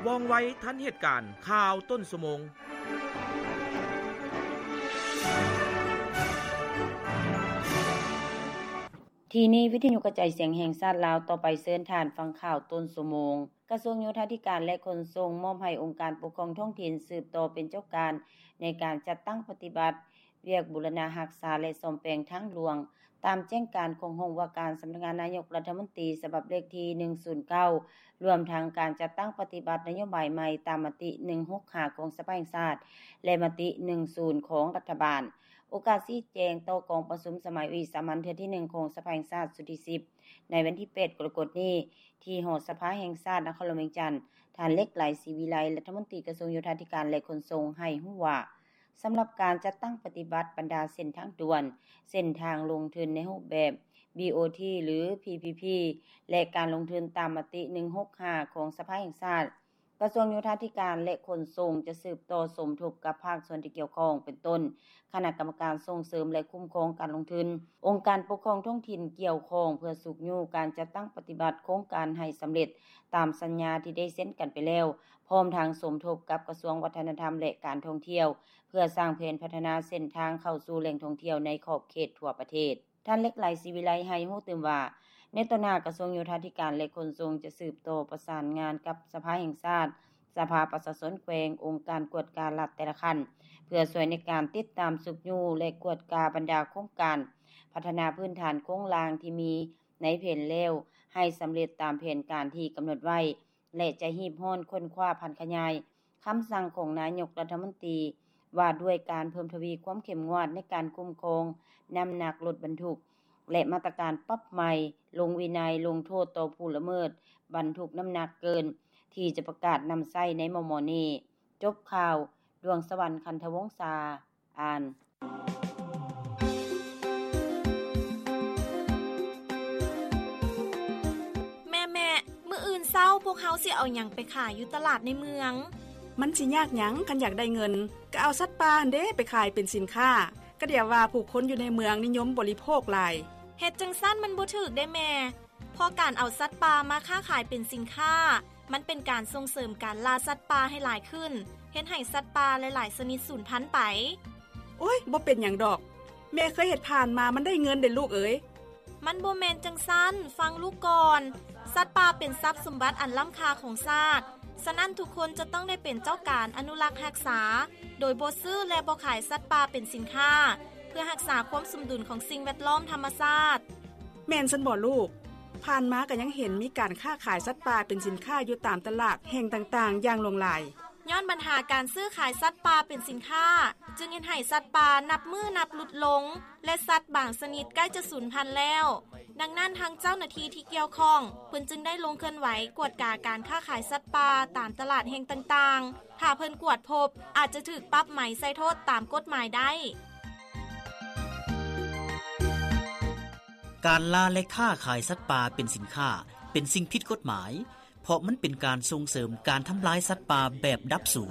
ວ່ອງໄວທັນເຫດການ ຂ່າວຕົ້ນຊົ່ວໂມງ. ທີ່ນີ້ ວິທະຍຸກະຈາຍສຽງແຫ່ງຊາດລາວ ຕໍ່ໄປເຊີນທ່ານຟັງຂ່າວຕົ້ນຊົ່ວໂມງ. ກະຊວງໂຍທາທິການ ແລະ ຂົນສົ່ງ ມອບໃຫ້ອົງການປົກຄອງທ້ອງຖິ່ນສືບຕໍ່ເປັນເຈົ້າການ ໃນການຈັດຕັ້ງປະຕິບັດວຽກບູລະນະຮັກສາ ແລະ ສ້ອມແປງທາງຫຼວງ ຕາມແຈ້ງການຂອງຫ້ອງວ່າການສຳນັກງານນາຍົກລັດຖະມົນຕີ ສະບັບເລກທີໜຶ່ງສູນເກົ້າ ລວມທັງການຈັດຕັ້ງປະຕິບັດນະໂຍບາຍໃໝ່ຕາມມະຕິໜຶ່ງຫົກຫ້າຂອງສະພາແຫ່ງຊາດ ແລະ ມະຕິໜຶ່ງສູນຂອງລັດຖະບານ. ໂອກາດຊີ້ແຈງຕໍ່ກອງປະຊຸມສະໄໝວິສາມັນເທື່ອທີໜຶ່ງຂອງສະພາແຫ່ງຊາດຊຸດທີສິບ ໃນວັນທີແປດກໍລະກົດນີ້ ທີ່ຫໍສະພາແຫ່ງຊາດນະຄອນຫຼວງວຽງຈັນ, ທ່ານ ເລັກໄລ ສີວິໄລ ລັດຖະມົນຕີກະຊວງໂຍທາທິການ ແລະ ຂົນສົ່ງ ໃຫ້ຮູ້ວ່າ ສຳລັບການຈັດຕັ້ງປະຕິບັດບັນດາເສັ້ນທາງດ່ວນ, ເສັ້ນທາງລົງທຶນໃນຮູບແບບ ບີໂອທີ ຫຼື ພີພີພີ ແລະ ການລົງທຶນຕາມມະຕິໜຶ່ງຫົກຫ້າຂອງສະພາແຫ່ງຊາດ, ກະຊວງໂຍທາທິການ ແລະ ຂົນສົ່ງ ຈະສືບຕໍ່ສົມທົບກັບພາກສ່ວນທີ່ກ່ຽວຂ້ອງ ເປັນຕົ້ນ ຄະນະກຳມະການສົ່ງເສີມ ແລະ ຄຸ້ມຄອງການລົງທຶນ, ອົງການປົກຄອງທ້ອງຖິ່ນກ່ຽວຂ້ອງ ເພື່ອຊຸກຍູ້ການຈັດຕັ້ງປະຕິບັດໂຄງການໃຫ້ສຳເລັດຕາມສັນຍາທີ່ໄດ້ເຊັນກັນໄປແລ້ວ, ພ້ອມທັງສົມທົບກັບກະຊວງວັດທະນະທຳ ແລະ ການທ່ອງທ່ຽວ ເພື່ອສ້າງແຜນພັດທະນາເສັ້ນທາງເຂົ້າສູ່ແຫຼ່ງທ່ອງທ່ຽວໃນຂອບເຂດທົ່ວປະເທດ. ທ່ານ ເລັກໄລ ສີວິໄລ ໃຫ້ຮູ້ຕື່ມວ່າ ໃນຕໍ່ໜ້າ ກະຊວງໂຍທາທິການ ແລະ ຂົນສົ່ງ ຈະສືບຕໍ່ປະສານງານກັບສະພາແຫ່ງຊາດ, ສະພາປະຊາຊົນແຂວງ, ອົງການກວດກາລັດແຕ່ລະຂັ້ນ ເພື່ອຊ່ວຍໃນການຕິດຕາມ, ຊຸກຍູ້ ແລະ ກວດກາບັນດາໂຄງການພັດທະນາພື້ນຖານໂຄງລ່າງທີ່ມີໃນແຜນແລ້ວ ໃຫ້ສຳເລັດຕາມແຜນການທີ່ກຳນົດໄວ້ ແລະ ຈະຮີບຮ້ອນຄົ້ນຄວ້າຜັນຂະຫຍາຍຄຳສັ່ງຂອງນາຍົກລັດຖະມົນຕີ ວ່າດ້ວຍການເພີ່ມທະວີຄວາມເຂັ້ມງວດໃນການຄຸ້ມຄອງນ້ຳໜັກລົດບັນທຸກ ແລະ ມາດຕະການປັບໃໝ, ລົງວິໄນ, ລົງໂທດຕໍ່ຜູ້ລະເມີດບັນທຸກນ້ຳໜັກເກີນ ທີ່ຈະປະກາດນຳໃຊ້ໃນມໍ່ໆນີ້. ຈົບຂ່າວ, ດວງສະຫວັນ ຄັນທະວົງສາ ອ່ານ. ແມ່ໆ ມື້ອື່ນເຊົ້າພວກເຮົາຊິເອົາຫຍັງໄປຂາຍຢູ່ຕະຫຼາດໃນເມືອງ? ມັນຊິຍາກຫຍັງ ຄັນຢາກໄດ້ເງິນ ກໍເອົາສັດປ່າຫັ້ນເດ້ໄປຂາຍເປັນສິນຄ້າ. ກະດຽວວ່າຜູ້ຄົນຢູ່ໃນເມືອງນິຍົມບໍລິໂພກຫຼາຍ. ເຮັດຈັ່ງຊັ້ນມັນບໍ່ຖືກເດ້ແມ່. ເພາະການເອົາສັດປ່າມາຄ້າຂາຍເປັນສິນຄ້າ ມັນເປັນການສົ່ງເສີມການລ່າສັດປ່າໃຫ້ຫຼາຍຂຶ້ນ, ເຮັດໃຫ້ສັດປ່າຫຼາຍໆຊະນິດສູນພັນໄປ. ໂອ້ຍ, ບໍ່ເປັນຫຍັງດອກ. ແມ່ເຄີຍເຮັດຜ່ານມາ, ມັນໄດ້ເງິນເດ້ລູກເອີຍ. ມັນບໍ່ແມ່ນຈັ່ງຊັ້ນ, ຟັງລູກກ່ອນ. ສັດປ່າເປັນຊັບສົມບັດອັນລ້ຳຄ່າຂອງຊາດ, ສະນັ້ນທຸກຄົນຈະຕ້ອງໄດ້ເປັນເຈົ້າການອະນຸລັກຮັກສາ, ໂດຍບໍ່ຊື້ ແລະ ບໍ່ຂາຍສັດປ່າເປັນສິນຄ້າ, ເພື່ອຮັກສາຄວາມສົມດຸນຂອງສິ່ງແວດລ້ອມທຳມະຊາດ. ແມ່ນຊັ້ນບໍລູກ? ຜ່ານມາກໍຍັງເຫັນມີການຄ້າຂາຍສັດປ່າເປັນສິນຄ້າຢູ່ຕາມຕະຫຼາດແຫ່ງຕ່າງໆຢ່າງຫຼວງຫຼາຍ. ຍ້ອນບັນຫາການຊື້ຂາຍສັດປ່າເປັນສິນຄ້າ ຈຶ່ງເຮັດໃຫ້ສັດປ່ານັບມື້ນັບຫຼຸດລົງ ແລະ ສັດບາງຊະນິດໃກ້ຈະສູນພັນແລ້ວ. ດັ່ງນັ້ນ ທາງເຈົ້າໜ້າທີ່ທີ່ກ່ຽວຂ້ອງ ເພິ່ນຈຶ່ງໄດ້ລົງເຄື່ອນໄຫວກວດກາການຄ້າຂາຍສັດປ່າຕາມຕະຫຼາດແຫ່ງຕ່າງໆ. ຖ້າເພິ່ນກວດພົບ ອາດຈະຖືກປັບໃໝໃສ່ໂທດຕາມກົດໝາຍໄດ້. ການລ່າ ແລະ ຄ້າຂາຍສັດປ່າເປັນສິນຄ້າ ເປັນສິ່ງຜິດກົດໝາຍ ເພາະມັນເປັນການສົ່ງເສີມການທຳລາຍສັດປ່າແບບດັບສູນ.